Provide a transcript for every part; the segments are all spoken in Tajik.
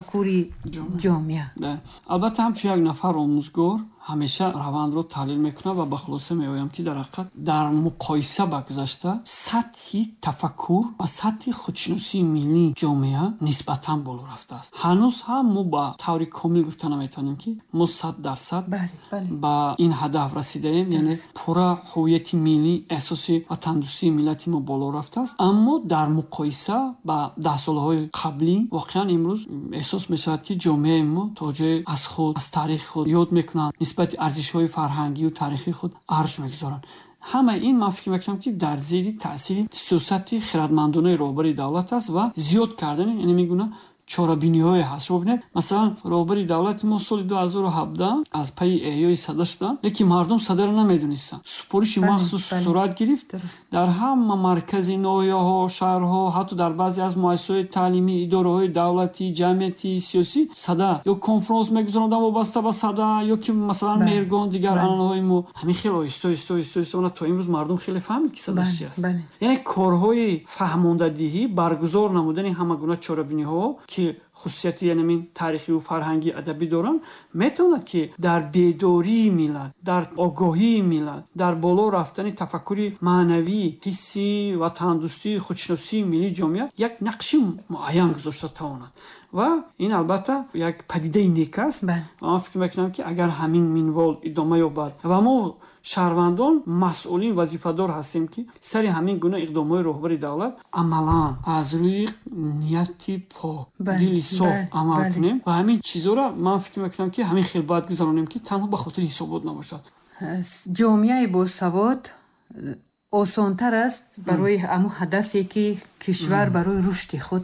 Тафаккури ҷомеа. Албатта, ҳамчун як нафар омӯзгор ҳамеша равандро таҳлил мекунам ва ба хулоса меоям, ки дар ҳақиқат дар муқоиса ба гузашта сатҳи тафаккур ва сатҳи худшиносии миллии ҷомеа нисбатан боло рафтааст. Ҳанӯз ҳам мо ба таври комил гуфта наметавонем, ки мо 100% ба ин ҳадаф расидаем, яъне пурра ҳуввияти миллӣ, эҳсоси ватандӯстии миллати мо боло рафтааст. Аммо дар муқоиса ба даҳсолаҳои қаблӣ воқеан имрӯз эҳсос мешавад, ки ҷомеаи мо то ҷое аз худ, аз таърихи худ ёд мекунанд, нисбати арзишҳои фарҳангию таърихии худ арҷ мегузоранд. Ҳамаи ин, ман фикр мекунам, ки дар зери таъсири сиёсати хирадмандонаи роҳбари давлат аст ва зиёд кардани ин гуна чорабиниҳое ҳаст. Шумо бинед, масалан, роҳбари давлати мо соли 2017 аз пайи эҳёи Сада шуданд, лекин мардум Садаро намедонистанд. Супориши махсус сурат гирифт, дар ҳама маркази ноҳияҳо, шаҳрҳо, ҳатто дар баъзе аз муассисаҳои таълимӣ, идораҳои давлатӣ, ҷамъиятӣ, сиёсӣ Сада ё конфронс мегузаронданд вобаста ба Сада ё ки, масалан, Меҳргон, дигар анъанаҳои мо. Ҳамин хеле оҳиста, оҳиста, оҳиста, оҳиста то имрӯз мардум хеле фаҳмид, ки Сада чи аст. Яъне корҳои фаҳмондадиҳӣ, баргузор намудани ҳама гуна чорабиниҳо, ки хусусияти янамин таърихию фарҳангӣ, адабӣ доранд, метавонад, ки дар бедории миллат, дар огоҳии миллат, дар боло рафтани тафаккури маънавӣ, ҳисси ватандӯстии, худшиносии миллии ҷомеа як нақши муайян гузошта тавонад. Ва ин, албатта, як падидаи нек аст. Ва ман фикр мекунам, ки агар ҳамин минвол идома ёбад ва мо, шаҳрвандон, масъулин, вазифадор ҳастем, ки сари ҳамин гуна иқдомҳои роҳбари давлат амалан аз рӯи нияти пок, дили соф амал кунем. Ва ҳамин чизҳоро, ман фикр мекунам, ки ҳамин хел бояд гузаронем, ки танҳо ба хотири ҳисобот набошад. Ҷомеаи босавод осонтар аст барои ҳамун ҳадафе, ки кишвар барои рушди худ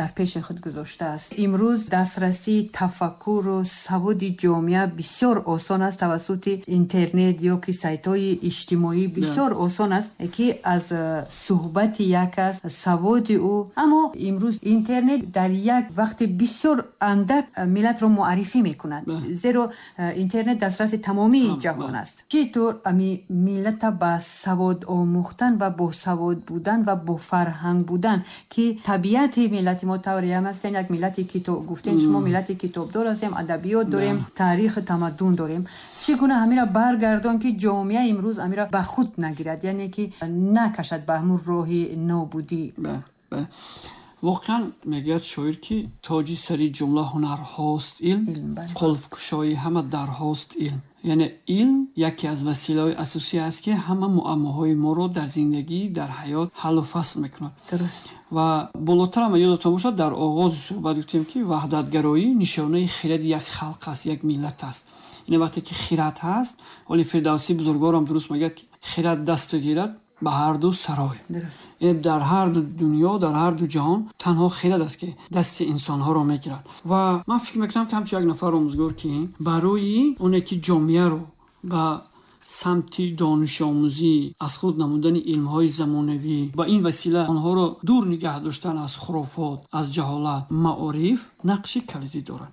дар пеши худ гузоштааст. Имрӯз дастрасии тафаккуру саводи ҷомеа бисёр осон аст. Тавассути интернет ё ки сайтҳои иҷтимоӣ бисёр осон аст, ки аз суҳбати як аст саводи ӯ. Аммо имрӯз интернет дар як вақти бисёр андак миллатро муаррифӣ мекунад, зеро интернет дастраси тамомии ҷаҳон аст. Чӣ тур ами миллата ба савод омӯхтан ва босавод будан ва бофарҳанг будан, ки табиати миллати мо тавре ҳам ҳастем, як миллати китоб, гуфтем шумо, миллати китобдор ҳастем, адабиёт дорем, таъриху тамаддун дорем, чӣ гуна ҳамира баргардон, ки ҷомеа имрӯз ҳамира ба худ нагирад, яъне ки накашад ба ҳамун роҳи нобудӣ? Воқеан, мегӯяд шоир, ки тоҷи сари ҷумла ҳунарҳост илм, қулфкушои ҳама дарҳост илм. Яъне илм яке аз василаҳои асосӣ аст, ки ҳама муаммоҳои моро дар зиндагӣ, дар ҳаёт ҳаллу фасл мекунад. Ва болотар ҳам ёдатон бошад, дар оғози суҳбат гуфтем, ки ваҳдатгароӣ нишонаи хиради як халқ аст, як миллат аст. Яъне вақте ки хират ҳаст, ҳоли Фирдавсии бузургворам дуруст мегӯяд, ки хират дасту гирад ба ҳарду сарой. Яъне дар ҳарду дунё, дар ҳарду ҷаҳон танҳо хират аст, ки дасти инсонҳоро мегирад. Ва ман фикр мекунам, ки ҳамчун як нафар омӯзгор, ки барои оне ки ҷомеаро ба самти донишомӯзӣ, аз худ намудани илмҳои замонавӣ, ба ин васила онҳоро дур нигаҳ доштан аз хурофот, аз ҷаҳолат, маориф нақши калидӣ дорад.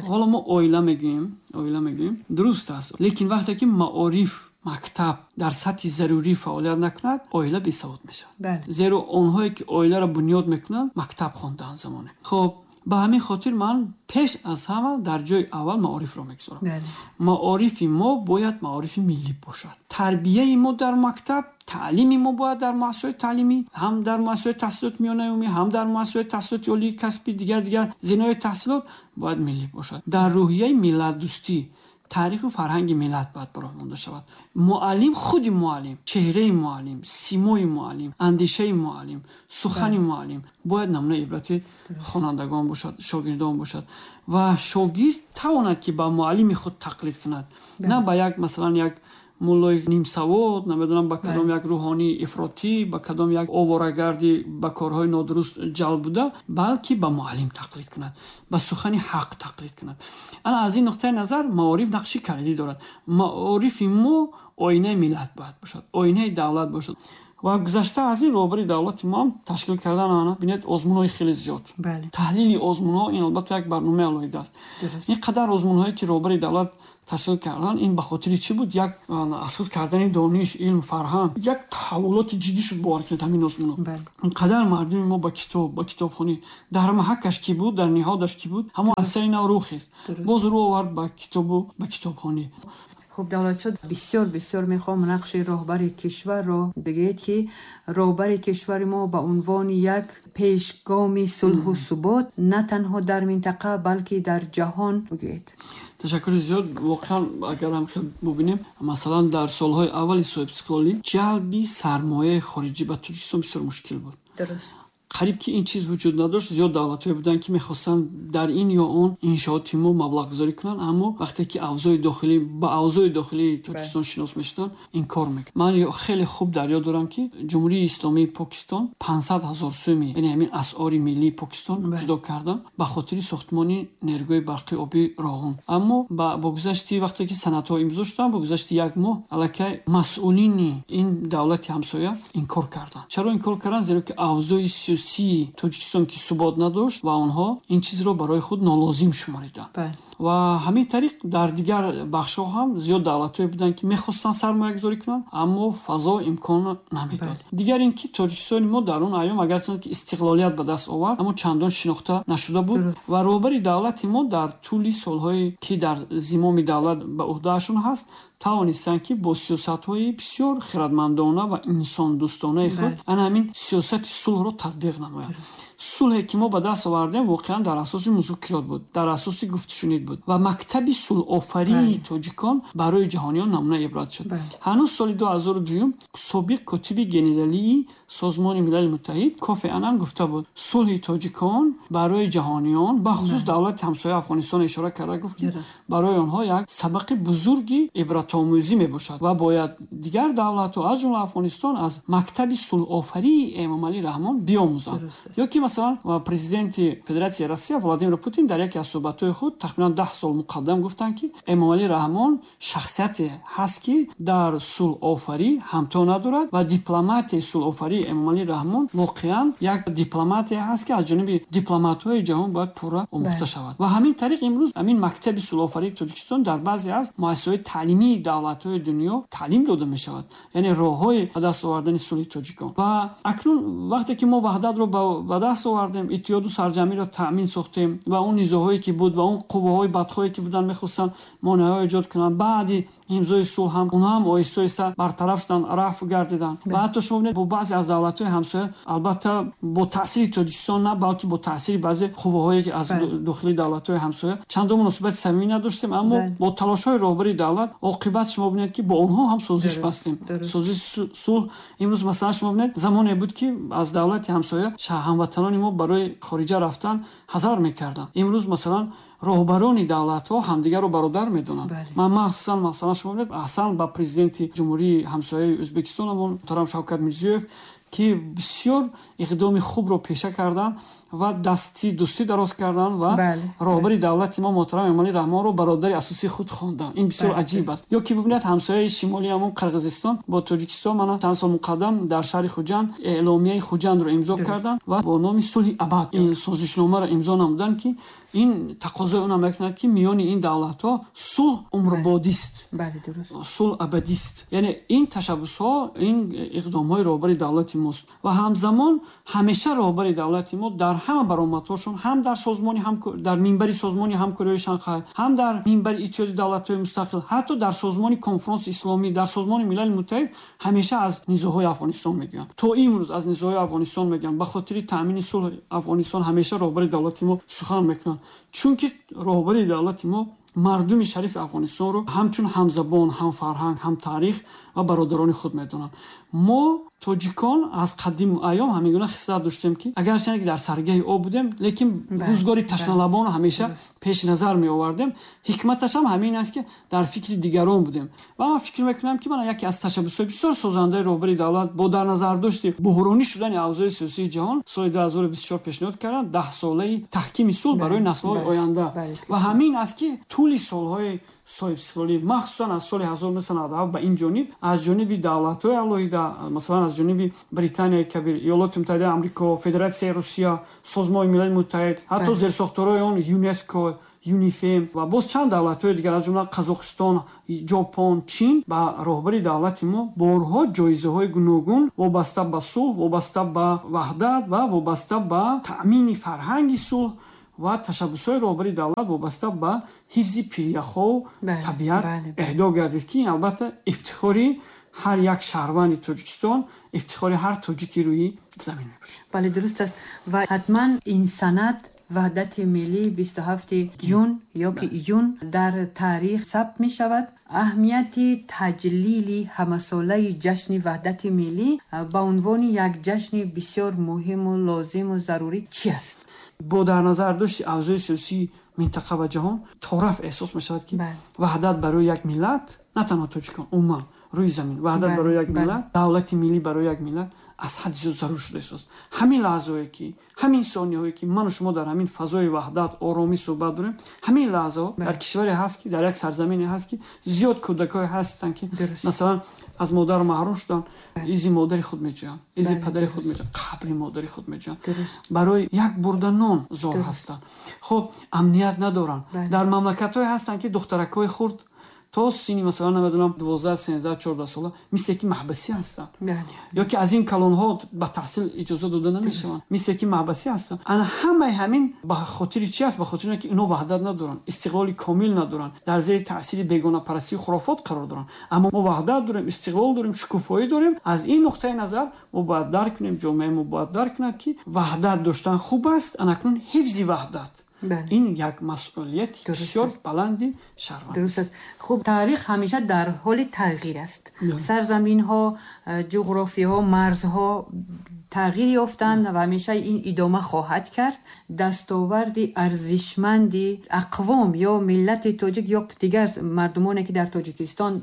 Ҳоло мо оила мегӯем, оила мегӯем, дуруст аст, лекин вақте ки маориф, мактаб дар сатҳи зарурӣ фаъолият накунад, оила бесавод мешавад, зеро онҳое ки оиларо бунёд мекунанд, мактаб хондаанд замоне. Хуб, ба ҳамин хотир ман пеш аз ҳама дар ҷои аввал маорифро мегузорам. Маорифи мо бояд маорифи миллӣ бошад. Тарбияи мо дар мактаб, таълими мо бояд дар муассисаҳои таълимӣ, ҳам дар муассисаҳои таҳсилоти миёнаи умумӣ, ҳам дар муассисаҳои таҳсилоти олии касбӣ, дигар дигар зинаҳои таҳсилот бояд миллӣ бошад. Дар рӯҳияи миллатдӯстӣ, таъриху фарҳанги миллат бояд ба роҳ монда шавад. Муаллим, худи муаллим, чеҳраи муаллим, симои муаллим, андешаи муаллим, сухани муаллим бояд намунаи ибрати хонандагон бошад, шогирдон бошад ва шогирд тавонад, ки ба муаллими худ тақлид кунад, на ба як, масалан, як муллои нимсавод, намедонам, ба кадом як рӯҳонии ифротӣ, ба кадом як оворагарди ба корҳои нодуруст ҷалб буда, балки ба муаллим тақлид кунад, ба сухани ҳақ тақлид кунад. Ана аз ин нуқтаи назар маориф нақши калидӣ дорад. Маорифи мо оинаи миллат бояд бошад, оинаи давлат бошад. Ва гузашта аз ин роҳбари давлати мо ҳам ташкил кардан, бинед, озмунҳои хеле зиёд. Таҳлили озмунҳо ин албатта як барномаи алоҳида аст. Ин қадар озмунҳое ки роҳбари давлат ташкил кардан, ин ба хотири чӣ буд? Як аз худ кардани дониш, илм, фарҳанг, як таҳаввулоти ҷиддӣ шуд бовар кунед ҳамин озмунҳо. Ин қадар мардуми мо ба китоб, ба китобхонӣ, дар маҳакаш ки буд, дар ниҳодаш ки буд, ҳамон аз сари нав рӯ хест. Боз рӯ овард ба китобу ба китобхонӣ. Хуб, Давлатшо, бисёр бисёр мехоҳам нақши роҳбари кишварро бигӯед, ки роҳбари кишвари мо ба унвони як пешгоми сулҳу субот на танҳо дар минтақа, балки дар ҷаҳон бигӯед. Ташаккури зиёд. Воқеан, агар ҳам хел бубинем, масалан, дар солҳои аввали соҳибистиқлолӣ ҷалби сармояи хориҷӣ ба Тоҷикистон бисёр мушкил буд. Қариб ки ин чиз вуҷуд надошт. Зиёд давлатҳое буданд, ки мехостанд дар ин ё он иншооти мо маблағгузорӣ кунанд, аммо вақте ки авзои дохилӣ ба авзои дохилии Тоҷикистон шинос мешуданд, инкор мекард. Ман хеле хуб дар ёд дорам, ки Ҷумҳурии Исломии Покистон 500 000 сӯми, яъне ҳамин асъори миллии Покистон, ҷудо карданд ба хотири сохтмони нерӯгоҳи барқи обии Роғун. Аммо бо гузашти вақте ки санадҳо имзо шуданд, бо гузашти як моҳ аллакай масъулини ин давлати ҳамсоя инкор карданд. Чаро инкор карданд? Зеро ки авзои сиёсии Тоҷикистон ки субот надошт ва онҳо ин чизро барои худ нолозим шумориданд. Ва ҳамин тариқ дар дигар бахшҳо ҳам зиёд давлатҳое буданд, ки мехостанд сармоягузорӣ кунанд, аммо фазо имкон намедод. Дигар ин ки Тоҷикистони мо дар он айём, агарчанд ки истиқлолият ба даст овард, аммо чандон шинохта нашуда буд. Ва роҳбари давлати мо дар тӯли солҳое ки дар зимоми давлат ба ӯҳдаашон ҳаст, тавонистанд, ки бо сиёсатҳои бисёр хирадмандона ва инсондӯстонаи худ ана ҳамин сиёсати сулҳро татбиқ намоянд. Сулҳе ки мо ба даст овардем, воқеан дар асоси музокирот буд, дар асоси гуфтушунид буд ва мактаби сулҳофарии тоҷикон барои ҷаҳониён намунаи ибрат шуд. Ҳанӯз соли 2002 собиқ котиби генералии Созмони Милали Муттаҳид Кофи Анан гуфта буд: сулҳи тоҷикон барои ҷаҳониён, бахусус давлати ҳамсоя Афғонистон ишора карда гуфт, ки барои онҳо як сабақи бузурги ибратомӯзӣ мебошад ва бояд дигар давлатҳо, аз ҷумла Афғонистон, аз мактаби сулҳофарии Эмомалӣ Раҳмон биомӯзанд. Ё ки масалан, президенти Федератсияи Россия Владимир Путин дар яке аз суҳбатҳои худ тахминан 10 сол муқаддам гуфтанд, ки Эмомалӣ Раҳмон шахсияте ҳаст, ки дар сулҳофарӣ ҳамто надорад ва дипломатияи сулҳофарии Эмомалӣ Раҳмон воқеан як дипломатия ҳаст, ки аз ҷониби дипломатҳои ҷаҳон бояд пурра омӯхта шавад. Ва ҳамин тариқ имрӯз ҳамин мактаби сулҳофарии Тоҷикистон дар баъзе аз муассисаҳои таълимии давлатҳои дунё таълим дода мешавад, яъне роҳҳои ба даст овардани сулҳи тоҷикон. Ва акнун вақте ки мо ваҳдатро ба даст овардем, иттиҳоду сарҷамъиро таъмин сохтем ва он низоъҳое ки буд ва он қувваҳои бадхоҳе ки буданд, мехостанд монеаҳо эҷод кунанд, баъди имзои сулҳ ҳам онҳо ҳам оҳиста оҳиста бартараф шуданд, рафъ гардиданд. Ва ҳатто шумо бинед, бо баъзе аз давлатҳои ҳамсоя, албатта бо таъсири Тоҷикистон на, балки бо таъсири баъзе қувваҳое ки аз дохили давлатҳои ҳамсоя, чандон муносибати самимӣ надоштем, аммо бо талошҳои роҳбари давлат оқибат шумо бинед, ки бо онҳо ҳам созиш бастем, созиши сулҳ. Имрӯз масалан шумо бинед, замоне буд, ки аз давлати ҳамсоя ҳамватанони мо барои хориҷа рафтан ҳазар мекарданд. Имрӯз масалан роҳбарони давлатҳо ҳамдигарро бародар медонанд. Ман махсусан, масалан, шумо бинед, аҳсан ба президенти ҷумҳурии ҳамсояи Ӯзбекистон муҳтарам Шавкат Мирзиёев, ки бисёр иқдоми хубро пеша карданд ва дасти дӯстӣ дароз карданд ва роҳбари давлати мо муҳтарам Эмомалӣ Раҳмонро бародари асосии худ хонданд. Ин бисёр аҷиб аст. Ё ки бибинед, ҳамсояи шимолии ҳамон Қирғизистон бо Тоҷикистон мана чанд сол муқаддам дар шаҳри Хуҷанд эъломияи Хуҷандро имзо карданд ва бо номи сулҳи абад ин созишномаро имзо намуданд, ки ин тақозои онам мекунад, ки миёни ин давлатҳо сулҳ умрбодист, сулҳ абадист. Яъне ин ташаббусҳо, ин иқдомҳои роҳбари давлати мост. Ва ҳамзамон ҳамеша роҳбари давлати мо дар ҳама баромадҳошон, ҳам дар созмони, дар минбари Созмони Ҳамкориҳои Шанхай, ҳам дар минбари Иттиҳоди Давлатҳои Мустақил, ҳатто дар созмони Конфронси Исломӣ, дар Созмони Милали Муттаҳид ҳамеша аз низоъҳои Афғонистон мегӯянд. То имрӯз аз низоъҳои Афғонистон мегӯянд. Ба хотири таъмини сулҳи Афғонистон ҳамеша роҳбари давлати мо сухан мекунанд, чунки роҳбари давлати мо мардуми шарифи Афғонистонро ҳамчун ҳамзабон, ҳамфарҳанг, ҳамтаърих ва бародарони худ медонанд. Мо тоҷикон аз қадим айём ҳамин гуна хислат доштем, ки агарчанде ки дар саргаҳи об будем, лекин рӯзгори ташналабонро ҳамеша пеши назар меовардем. Ҳикматаш ҳам ҳамин аст, ки дар фикри дигарон будем. Ва ман фикр мекунам, ки мана яке аз ташаббусҳои бисёр созандаи роҳбари давлат бо дар назардошти буҳронӣ шудани авзои сиёсии ҷаҳон соли 2024 пешниҳод карданд даҳсолаи таҳкими сулҳ барои наслҳои оянда. Ва ҳамин аст, ки тӯли Тӯли солҳои соҳибистиқлолӣ, махсусан аз соли 1997 ба ин ҷониб, аз ҷониби давлатҳои алоҳида, масалан аз ҷониби Британияи Кабир, Иёлоти Муттаҳидаи Амрико, Федератсияи Русия, Созмони Милали Муттаҳид, ҳатто зерсохторҳои он ЮНЕСКО, ЮНИФЕМ ва боз чанд давлатҳои дигар, аз ҷумла Қазоқистон, Ҷопон, Чин, ба роҳбари давлати мо борҳо ҷоизаҳои гуногун вобаста ба сулҳ, вобаста ба ваҳдат ва вобаста ба таъмини фарҳанги сулҳ ва ташаббусҳои роҳбари давлат вобаста ба ҳифзи пиряхҳо, табиат эҳдо гардид, ки ин албатта ифтихори ҳар як шаҳрванди Тоҷикистон, ифтихори ҳар тоҷики рӯи замин мебошад. Бале, дуруст аст. Ва ҳатман ин санад ваҳдати миллӣ 27 ҷун ё ки июн дар таърих сабт мешавад. Аҳамияти таҷлили ҳамасолаи ҷашни ваҳдати миллӣ ба унвони як ҷашни бисёр муҳиму лозиму зарурӣ чи аст? Бо дар назар дошти авзои сиёсии минтақа ва ҷаҳон тораф эҳсос мешавад, ки ваҳдат барои як миллат, на танҳо тоҷикон, умуман рӯи замин, ваҳдат барои як миллат, давлати миллӣ барои як миллат аз ҳадди зиёд зарур шуда истодааст. Ҳамин лаҳзаҳое ки, ҳамин сониҳое ки ману шумо дар ҳамин фазои ваҳдат, оромӣ суҳбат дорем, ҳамин лаҳзаҳо дар кишваре ҳаст ки, дар як сарзамине ҳаст ки зиёд кӯдакҳое ҳастанд ки масалан аз модар маҳрум шуданд, изи модари худ меҷӯянд, изи падари худ меҷӯянд, қабри модари худ меҷӯянд, барои як бурда нон зор ҳастанд. Хуб, амният надоранд. Дар мамлакатҳое ҳастанд ки духтаракҳои хурд то синни масалан намедонам 12, 13, 14 сола мисле ки маҳбасӣ ҳастанд, ё ки аз ин калонҳо ба таҳсил иҷоза дода намешаванд, мисле ки маҳбасӣ ҳастанд. Ана ҳамаи ҳамин ба хотири чи аст? Ба хотири он ки инҳо ваҳдат надоранд, истиқлоли комил надоранд, дар зери таъсири бегонапарастию хурофот қарор доранд. Аммо мо ваҳдат дорем, истиқлол дорем, шукуфоӣ дорем. Аз ин нуқтаи назар мо бояд дарк кунем, ҷомеаи мо бояд дарк кунад, ки ваҳдат доштан хуб аст, анакнун ҳифзи ваҳдат ин як масъулияти бисёр баланди шаҳрванд. Дуруст аст. Хуб, таърих ҳамеша дар ҳоли тағйир аст. Сарзаминҳо, ҷуғрофиҳо, марзҳо тағйир ёфтанд ва ҳамеша ин идома хоҳад кард. Дастоварди арзишманди ақвом ё миллати тоҷик ё дигар мардумоне ки дар Тоҷикистон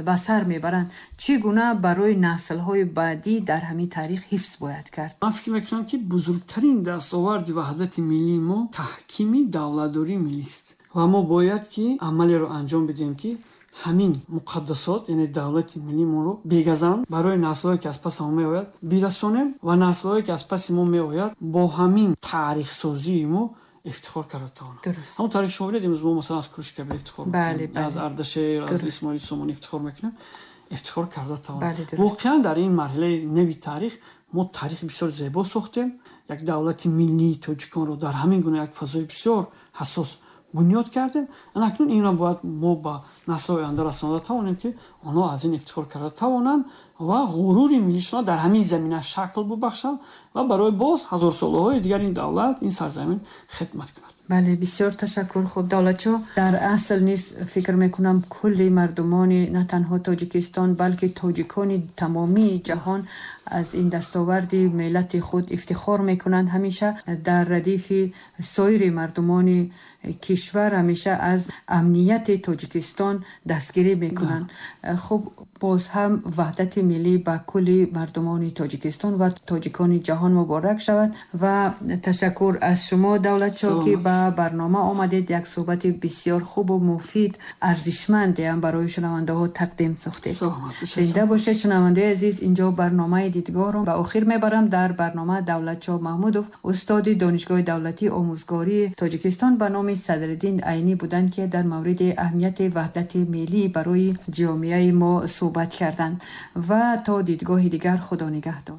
ба сар мебаранд, чӣ гуна барои наслҳои баъдӣ дар ҳамин таърих ҳифз бояд кард? Ман фикр мекунам, ки бузургтарин дастоварди ваҳдати миллии мо таҳкими давлатдории миллист ва мо бояд ки амалеро анҷом бидиҳем, ки ҳамин муқаддасот, яъне давлати миллиимонро бегазанд барои наслҳое ки аз паси мо меояд бирасонем ва наслҳое ки аз паси мо меояд бо ҳамин таърихсозии мо ифтихор карда тавонанд. Ҳамон таърих шумо бинед, имрӯз мо масалан аз Куруши Кабир ифтихор мекунем, аз Ардашер, аз Исмоили Сомонӣ ифтихор мекунем, ифтихор карда тавонем. Воқеан дар ин марҳилаи нави таърих мо таърихи бисёр зебо сохтем, як давлати миллии тоҷиконро дар ҳамин гуна як фазои бисёр ҳассос бунёд кардем. Анакнун инро бояд мо ба наслҳои оянда расонда тавонем, ки онҳо аз ин ифтихор карда тавонанд ва ғурури миллишонро дар ҳамин замина шакл бубахшанд ва барои боз ҳазорсолаҳои дигар ин давлат, ин сарзамин хидмат кунад. Бале, бисёр ташаккур. Хуб, Давлатшо, дар асл низ фикр мекунам кулли мардумони на танҳо Тоҷикистон, балки тоҷикони тамомии ҷаҳон аз ин дастоварди миллати худ ифтихор мекунанд. Ҳамеша дар радифи соири мардумони кишвар ҳамеша аз амнияти Тоҷикистон дастгирӣ мекунанд. Хуб, боз ҳам ваҳдати миллӣ ба кулли мардумони Тоҷикистон ва тоҷикони ҷаҳон муборак шавад ва ташаккур аз шумо, Давлатшо, ки ба барнома омадед. Як суҳбати бисёр хубу муфид, арзишманде ҳам барои шунавандаҳо тақдим сохтед. Зинда бошед, шунавандаи азиз. Инҷо барномаи дидгоҳро ба охир мебарам. Дар барнома Давлатшо Маҳмудов, устоди Донишгоҳи давлатии омӯзгории Тоҷикистон ба номи Садриддин Айнӣ буданд, ки дар мавриди аҳамияти ваҳдати миллӣ барои ҷомеаи мо суҳбат карданд. Ва то дидгоҳи дигар, Худо нигаҳдор.